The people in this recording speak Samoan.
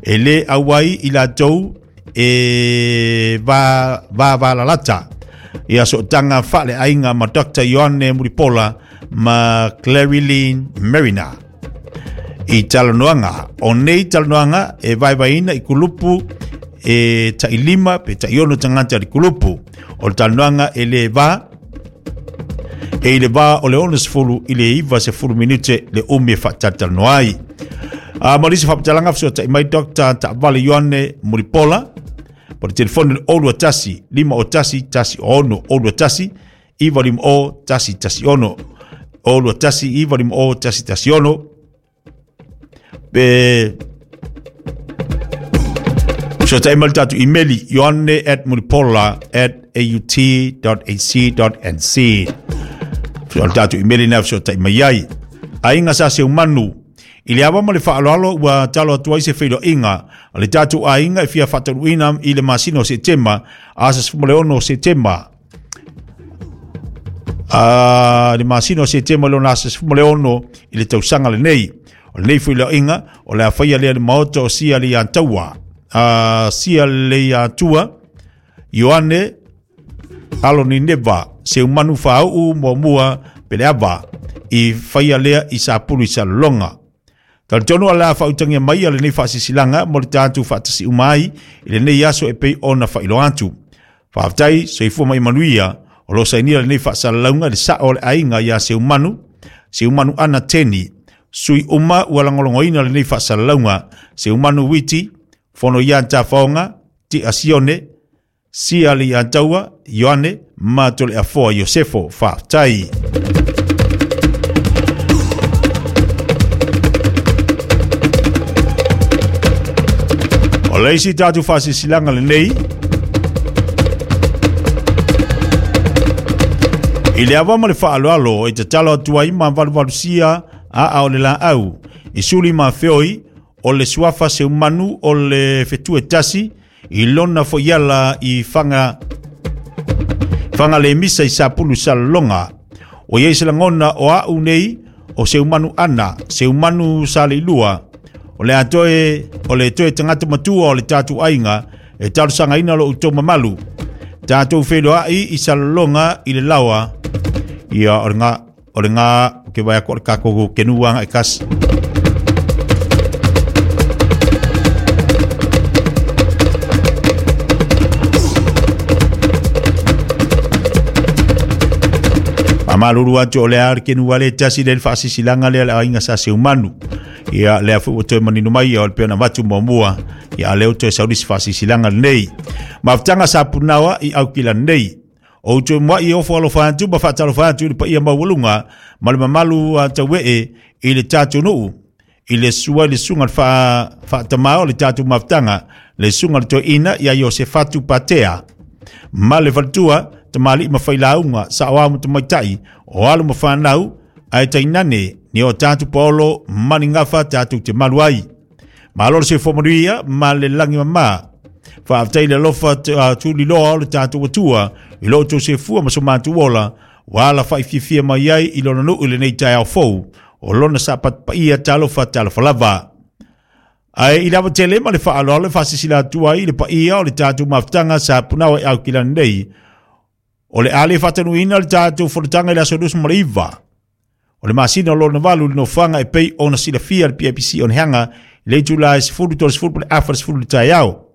E lē auai i latou e va vavalalata ia sootaga faaleaiga ma Dr. Ioane Mulipola ma Clarilyn Mariner i talanoaga. O nei talanoaga e vaevaeina i kulupu e tailima pe taiono tagata i le kulupu. O le talanoaga e lē va e i le va o le 60 i le 90 minute le umi e faatalatalanoa ai. A ma lisi faamatalaga fesoatai mai Dr. Taavale Ioane Mulipola po le telefoni le 021 501 16 021 950 116 021 950 116 pe fesoatai mai le tatou imeli ioane@mulipola@aut.ac.nz. O le tatou imeli na fesoatai mai ai. Aiga sa Seumanu, i le ava ma le faaaloalo ua talo atu ai se feiloaiga a le tatou aiga e fia faataunuuina i le masina o Setema, aso 16 o Setema. A le masina o Setema lona aso 16 i le tausaga lenei. O lenei feiloaiga o le a faia lea le maota o Sia le Ataua. A Sia le Atua, Ioane alo ni Neva, Seumanu Faauu muamua Peleava, i faia lea i Sapulu i Salelologa. Talitonu o le a faautagia mai a lenei faasisilaga mo le tatou faatasi uma ai i lenei aso e pei ona faailoa atu. Faafetai, soifua ma ia manuia. O lo o sainia lenei faasalalauga i le sao o le aiga ia Seumanu, Seumanu Ana Teni, sui uma ua lagolagoina lenei faasalalauga, Seumanu Witi, Fono ia Tafaoga, Tia Sione, Sia le Ataua, Ioane, ma Toleafoa Iosefo. Faafetai. O le isi tatou faasilasilaga lenei, i le ava ma le faaaloalo e tatalo atu ai ma valuvalusia aa o le laau i suli ma feoi o le suafa Seumanu o le fetu e tasi i lona foiala i fanga fanga le misa i Sapulu Salelologa. O iai se lagona o au nei o Seumanu ana, Seumanu Saleilua, o le a toe, o le toe tagata matua o le tatou aiga e talosagaina lo outou mamalu. Tatou feiloai i Salelologa i le laoa, ia o le nga, o le nga, ke vai ako le kako kenuanga e kasi. Famalulu atu o le a le kenu wale tasi le faasisilaga lea le aiga sa Seumanu. Ia lea foi ua toe manino mai ia o le pei ona avatu muamua ia lea ua toe saulisi faasisilaga lenei. Mafutaga sa punaoa i aukila nei. O outou muai e ofo alofa atu ma faatalofa atu i le paia maualuga ma le mamalu a tauee i le tatou nuu i le sua i le susuga le faatamā o le tatou mafutaga, le susuga le toeaina ia Iosefatu Patea, ma le faletua tamalii ma failauga, saoao ma tamaitai, o alo ma fanau, ae tainane ni o tatou paolo ma ni gafa tatou te malu ai. Malo le soifua manuia ma le lagi mama. Faafetai le alofa tuliloa o le tatou Atua i lo outou soifua ma so matou ola, ua alafai fiafia mai ai i lona nuu i lenei taeao fou o lona sapatu paia talofa talofa lava. Ae i le ava tele ma le faaaloalo e faasilasila atu ai i le paia o le tatou mafutaga sa punaoa i Aukilani nei, o le a le faatanuuina le tatou fonotaga i le aso 29 o le masina o lona valu i le nofoaga e pei ona silafia le PIPC o Nehaga i le itula e 10:30 po o le afa i le 10 i le taeao.